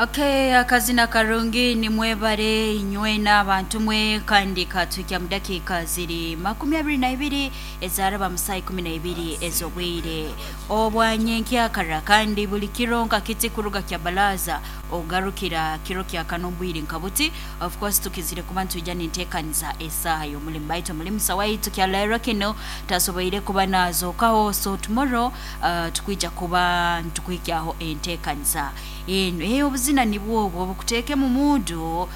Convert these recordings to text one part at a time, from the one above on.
Okay, akazina karungi nimwebare inywe n'abantu mwe, kandi katuhikya mu dakiika ziri 22 ezaraba mu saa 12 ez'obwire obwanyenkyakara. Kandi buli kiro nka kiti kuruga kya balaza ogarukira kiro kya kano obwire nka buti, of course tukizire kuba nitwija ninteekaniza esaaha y'omulimu, baitu omulimusa waitu kya leero kinu tasoboire kuba nazookaho. So tomorrow tukwija kuba nitukuhikyaho enteekaniza eno. Obuzina nibwo obwo obukuteeke mu muudu,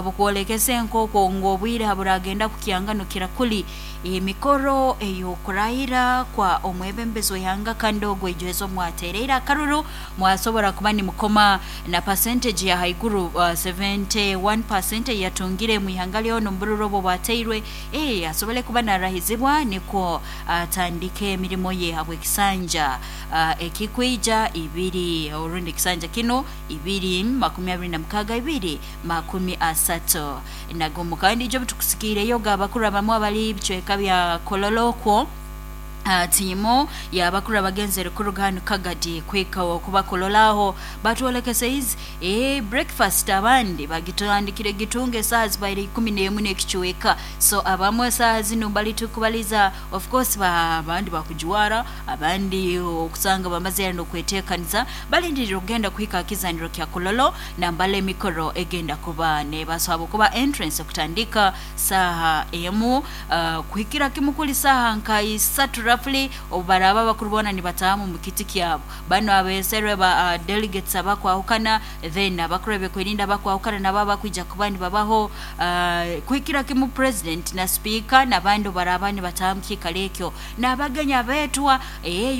bukwolekese nk'okwo ngu obwire haburagenda kukyanganukira kuli emikoro ey'okurahira kwa omwebembezi w'ihanga, kandi ogwo ijuhezo mwatereire akaruru mwasobora kuba nimukoma na percentage ya haiguru, 71% eyatungire mu ihanga lyona omu bururu obwo bwateirwe, asobole kuba narahizibwa nikwo atandike emirimo ye habw'ekisanja ekikwija ibiri orundi ekisanja kino 2026 2031. Kandi ijo tukusikiireyo abakuru abamu abali bicweka bya Kololo okwo, tiimu yabakuru abagenzere kuruga hanu Kagadi kwika okubakololaho batwolekese izi breakfast abandi bagitandikire gitunga esaaha zibaire 11 n'ekicweka. So abamwe esaaha zinu bali tukubaliza, of course abandi bakujwara, abandi okusanga bamaze n'okweteekaniza balindirire okugenda kuhika kizaniro kya Kololo nambala emikoro egenda kuba nebasaba kuba entrance okutandika saaha 1 kuhikira kimu kuli saaha nka 3 roughly, obubaraba abakuru boona nibataamu mu kiti kyabo. Bano abeeserwe ba delegates abakwahukana, then abakuru ebyokwerinda abakwahukana nabo abakwija kuba nibabaho, kuhikira kimu president na speaker n'abandi obaraba nibataaha mu kiikaro ekyo n'abagenyi abeetwa.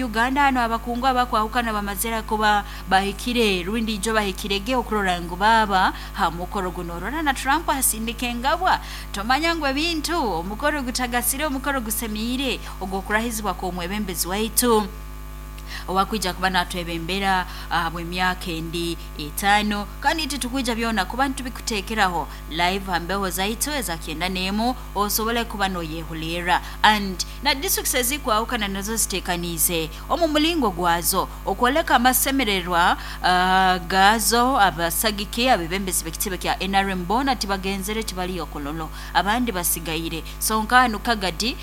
Uganda hano abakungu abakwahukana bamazire kuba bahikire rundi ijo bahikirege okurora ngu baaba ha mukoro guno. Orora na Trump asindika engabwa, tomanya ngu ebintu omukoro gutagasire, omukoro gusemiire ogw'okurahizibwa kw'omwebembezi waitu owakwija kuba natwebembera ahabw'emyaka endi 5. Kandi titukwija byona kuba nitubikuteekeraho live ha mbeho zaitu eza 91 osobole kuba noyehulirra. And na districts ezikwahukana nazo ziteekaniize omu mulingo gwazo okwoleka amasemererwa gaazo. Abasagiki abebembezi b'ekitebe kya NRM boona tibagenzere, tibaliyo Kololo, abandi basigaire. So nka hanu Kagadi,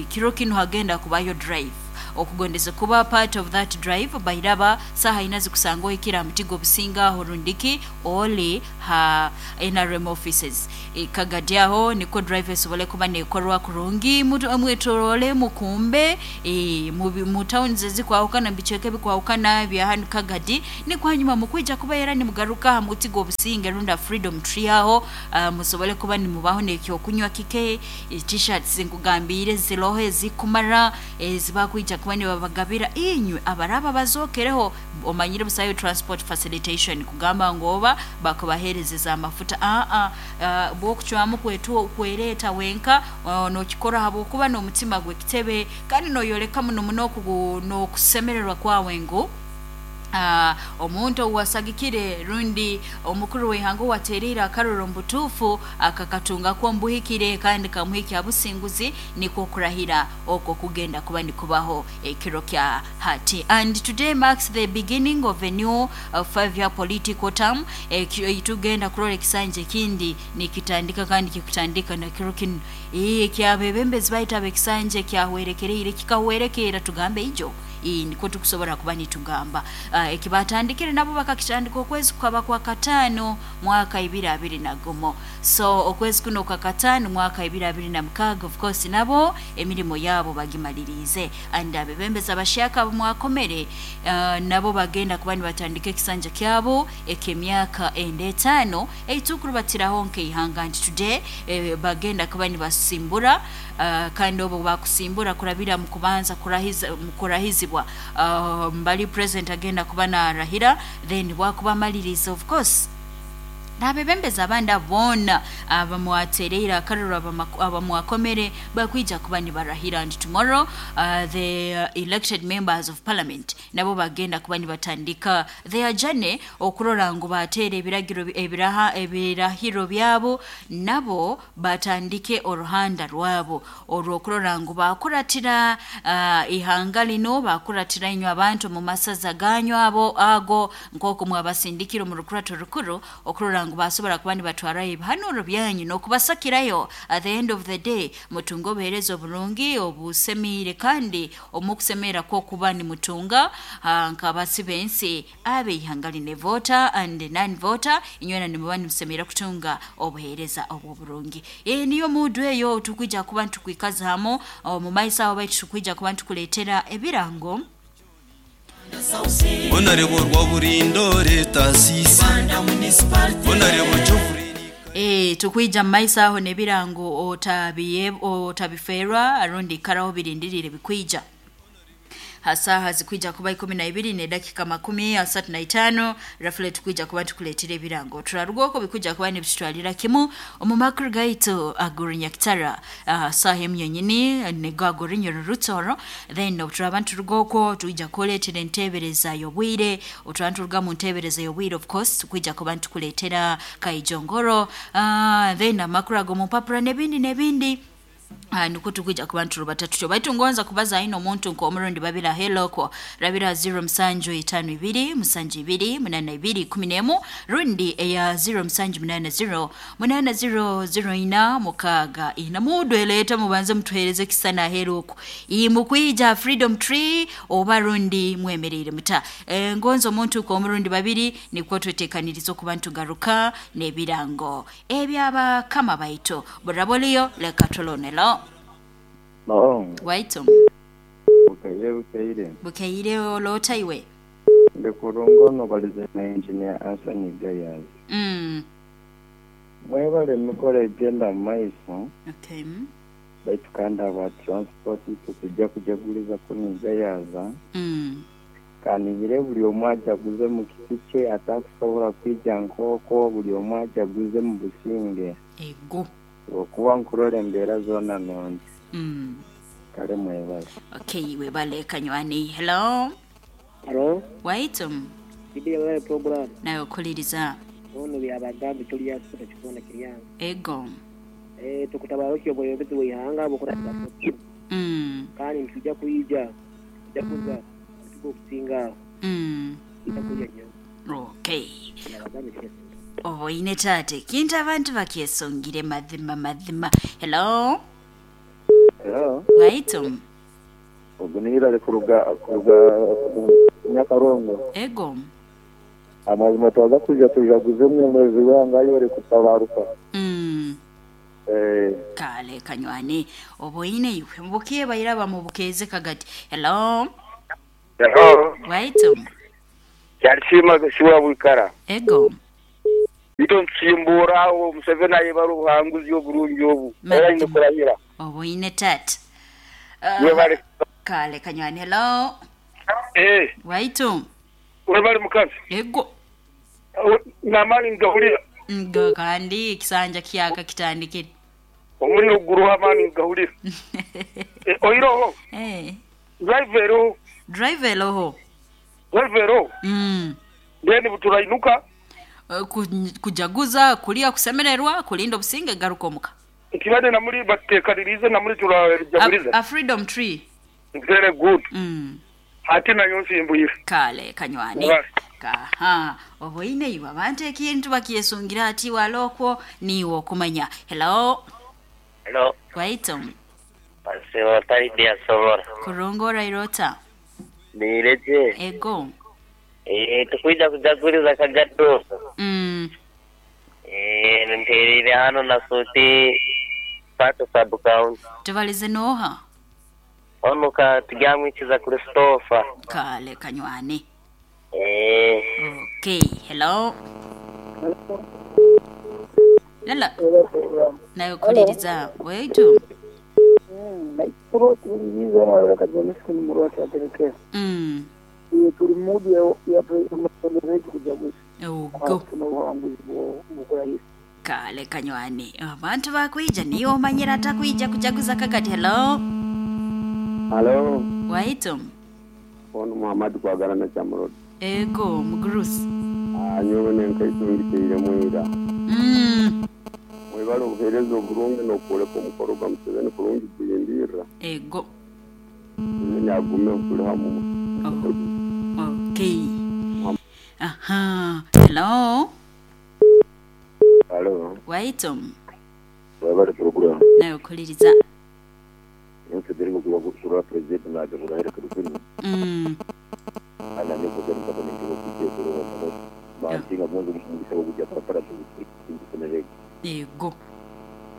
kiro kinu hagenda kubayo drive, okugondeze kuba part of that drive bairaba saha ina zikusanga ohikira ha muti gw'obusinga aho rundiki oli ha NRM offices Kagadi aho, nikwo drive esobole kuba nekorwa kurungi mwetorole mukumbe mu towns ezikwahukana, mu bicweka ebikwahukana bya hanu Kagadi, nikwo hanyuma mukwija kuba era nimugaruka ha muti gw'obusinge rundi Freedom Tree aho, musobole kuba nimubaho n'ekyokunywa kike. T-shirts nkugambiire ziroho ezikumara ezibakwija kuba nibabagabira inywe abaraba bazookereho. Omanyire busayo transport facilitation kugamba ngu oba bakubaheerezeza amafuta, aa bw'okucwamu kwereeta wenka, n'okikora habwokuba n'omutima gw'ekitebe kandi noyoleka muno muno n'okusemererwa kwawe ngu omuntu owasagikire rundi omukuru w'ihanga owateereire akaruru omu butuufu akakatungako omubuhikire kandi kamuhikya businguzi, nikwo okurahira okwo kugenda kuba nikubaho ekiro kya hati. And today marks the beginning of a new 5-year political term. Tugenda kurora ekisanja ekindi nikitandika kandi kikutandika na kiro kinu ekyabebembezi baitu ab'ekisanja ekyahwerekereire kikahwerekeera, tugambe ijo, nikwo tukusobora kuba nitugamba ekibatandikire nabo bakakitandika okwezi kukaba kwa 5 mwaka 2021. So okwezi kuno kwa 5 mwaka 2026, of course nabo emirimo yabo bagimaliriize. And abebembezi abashyaka mwakomere, nabo bagenda kuba nibatandika ekisanja kyabo eky'emyaka enda 5 eitukurubatiraho nk'eihanga nti today bagenda kuba nibasimbura, kandi obo bakusimbura kurabira mu kubanza kurahizibwa, mbali president agenda kuba narahira, then bwakuba amaliriza of course N'abebembezi abandi abo boona abamwatereire akaruru, abamwakomere bakwija kuba nibarahira. And tomorrow the elected members of parliament nabo bagenda kuba nibatandika their journey okurora ngu bateera ebiragiro ebiraha ebirahiro byabo, nabo batandike oruhanda rwabo orw'okurora ngu bakuratira ihanga lino, bakuratira inywe abantu mu masaza ganyu abo ago nk'oku mwabasindikire omu rukurato rukuru okurora ngu basobora kuba nibatwarayo ebihanuro byanyu n'okubasakirayo. At the end of the day mutunge obuheereza oburungi obusemiire, kandi omukusemerera kw'okuba nimutunga nk'abasi b'ensi ab'eihanga lino, voter and non voter, inywena nimuba nimusemerera kutunga obuheereza obw'oburungi. Niyo mudu eyo tukwija kuba nitukwikaza hamu omu maiso aho, baitu tukwija kuba nitukuleetera ebirango. Honorable Rwaburindore Tasisi, Honorable Geoffrey. Tukwija mu maiso aho n'ebirango, otabiferwa arundi ikaraho birindirire bikwija hasaha zikwija kuba 12 nedakika 35 rafule. Tukwija kuba tukuleetera ebirango, turaruga okwo bikwija kuba nibitutwalira kimu omu makuru gaitu agurinyakitara saha emu yonyini nigo agurinya rurutoro. Then obuturaba nituruga okwo twija kuleetera entebereza y'obwire. Oturaba nituruga mu ntebereza y'obwire, of course tukwija kuba nitukuleetera kaijongoro, then amakuru ago mu mpapura n'ebindi n'ebindi. Nukwo tukwija kuba nturubata tutyo, baitu ngonza kubaza aine omuntu nk'omurundi babira heloko rabira 0752 72 82 11 rundi eya 0780 8004 6 4. Mudweleta mubanze mutuhereze kisana heruko iyi mukwija Freedom Tree oba rundi mwemerere muta. Ngonza omuntu nk'omurundi babiri, nikwo twetekaniriza okuba ntugaruka n'ebirango ebyabakama baitu. Buraboliyo leka tulonelo. No, waitu. Bukaire bukaire. Bukeire, olota iwe? Ndi kurungono balize na Engineer Anthony Gayaz. Mwebale emikoro egenda mu maiso. Okay. Baitu kandi aba transport itwe tujja kujaguliza kunu Gayaza. Kanihire buli omu ajaguze mu kiti kye, atakusobola kwija nk'okwo, buli omu ajaguze mu businge. Ego. Okuba nkurora embeera zoona nungi. Kale mwebale. Okay, webale kanywani. Hello. Halo, waitu. Bidi ya program. Nawe okuliriza. Ono byabagambi tuli yasita kikona kiryanga. Ego. Tukutabaro obwebembezi bw'ihanga bukora. Kandi nitujja kuyija tujja kuza tugo okusinga tujja kulya nnyo. Okay. Byabagambi tuli yasita. Oboine tate kintu abantu bakyesongire mazima mazima. Hello. Hello. Waitu. Ogunira ali kuruga Nyakarongo. Ego. Amazima twaza kuja tujaguze omwezi wanga ayore kutabaruka. Kale kanywani oboine iwe mubukiye bayiraba mubukeze kagati. Hello. Hello. Waitu. Kyalishima siwa bwikara. Ego. Ito nsimbura awo Museveni ayebara obuhanguzi oburungi obu. Era ine kurahira. Oboine tate. Webale. Kale kanywani. Hello. Waitu. Webale mukazi. Ego. Namani ngahulira. Ngo kandi kisanja kyaka kitandikire. Omuliro guruha amani ngahulira. Oiroho. Driver o. Driver oho. Driver o. Then buturainuka. Kujaguza, kulia, kusemererwa, kulinda obusinge garuka omuka. Ekibade namuli batekanirize namuli turajaguliza. A Freedom Tree. Very good. Ate nayo nsimbuyire. Kale kanywani. Kaha oboine iwe abantu ekintu bakyesungira ati walokwo niwe okumanya. Hello. Hello. Waitu. Pasiwa taidi ya sobora. Kurongora irota. Nireje. Ego. Tukwija kujaguliza kagado. Nterire hano na suti pato sub county. Tubalize noha. Ono ka tugamwikiza Christopher. Kale kanywani. Okay, hello. Lala. Nayo kuliriza. Waitu. Naikuru tuliriza na kajonisi ni murwati aterekera. Turi mudu ya ya president kujaguza. Ogo. Tuno buhanguzi bwo kurahira. Kale kanywani, abantu bakwija niyo omanyire atakwija kujaguza Kagadi. Hello. Halo, Waitu. ono Muhammad kwagala na Chamrod. Ego mugurusi. Nyowe nenkaisungikire mwira. Mwebale obuheereza oburungi n'okwoleka omukoro gwa Museveni kurungi kuyimbirra. Ego. Museveni agume tuli hamu. Oh. Okay. Aha. Hello. Halo, Waitu. webale program. Nawe okuliriza. Nse kurwa president naje kurahira kurukuru. Ana niko kero mpaka ningiro kujia kurwa mpaka. Mantinga mwanzo mugisa kujja papara tukusemerege. Ego.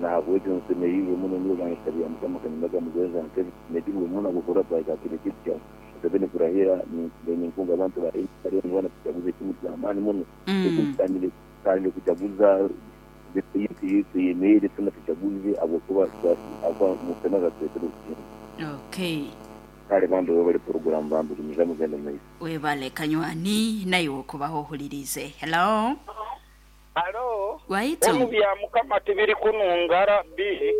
Nahabwekyo nsemereirwe muno niyo bansabira Mukama kanyumaga mugenza ntebe nsemereirwe muno gukora twaika kino kintu kya Museveni kurahira ninkunga abantu ba NRM bana tuchaguze ekimu ky'amaani muno. Tutandire kuchaguza tuyemere tuna tuchaguze ahabwokuba Mukama akatureetera obusinge. Okay. Kale bambi webale program bambi gumiza mugende mu maiso. Webale kanywani naye okubaho ohulirize. Hello. Halo. Waitu. Omu bya Mukama tibiri kunungara bi.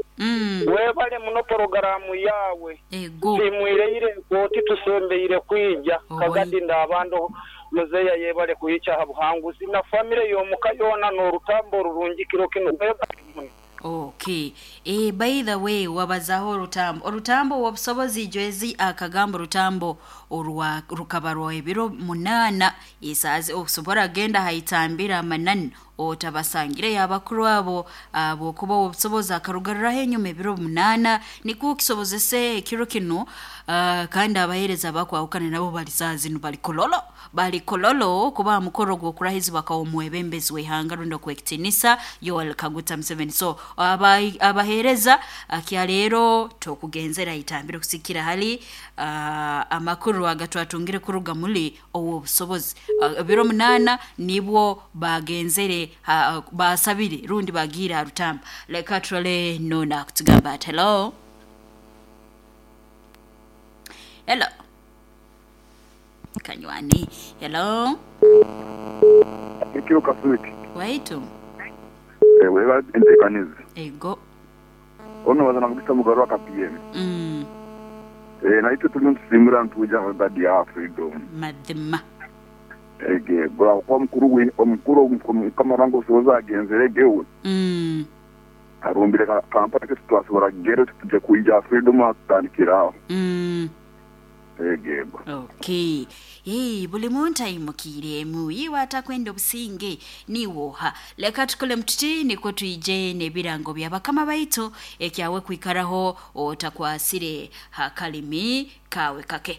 Webale muno porogaramu yawe. Ego. Timwireire koti tusembeire kwija. Kagadi ndabandu muzeya yebale kuyicha ha buhanguzi na family yomuka yona n'orutambo rurungi kiro kino. Webale muno. Okay. By the way, wabazaho orutambo. Orutambo obusobozi jwezi akagamba orutambo orwa rukaba rwa ebiro 8 isazi okusobora genda haitambira amanani otabasangire yabakuru abo abokuba obusobozi akarugariraho enyuma ebiro 8 niko kisobozese ekiro kino kandi abahereza bakwahukana nabo bali sazi bali kololo bali kololo kuba mukoro gw'okurahizibwa kwa omwebembezi w'ihanga rundi okwekitinisa Yoweri Kaguta Museveni. So abahereza akya leero tokugenzera itambire kusikira hali amakuru agatwatungire kuruga muli obusobozi ebiro 8 nibwo bagenzere basabire rundi bagira rutamba. Leka trole nona kutugamba. Hello. Hello. Kanywani. Hello. Ekiro kasuki. Waitu. Weba entekanizi. Ego. Ono wazana mugisa mugarwa ka PM. Na ito tuli ntusimura ntuja badi ya freedom. Madema. Ege bra kwa mukuru we omukuru kamarango soza agenzere gewe. Arumbire kampani ke twasubora gero tuje kuija freedom atandikiraho. Ege. Okay. Buli muntu ayimukiremu iwe atakwenda obusinge niwoha. Leka tukole mtuti niko tuije n'ebirango bya bakama baitu ekyawe kwikaraho otakwasire hakalimi kawe kake.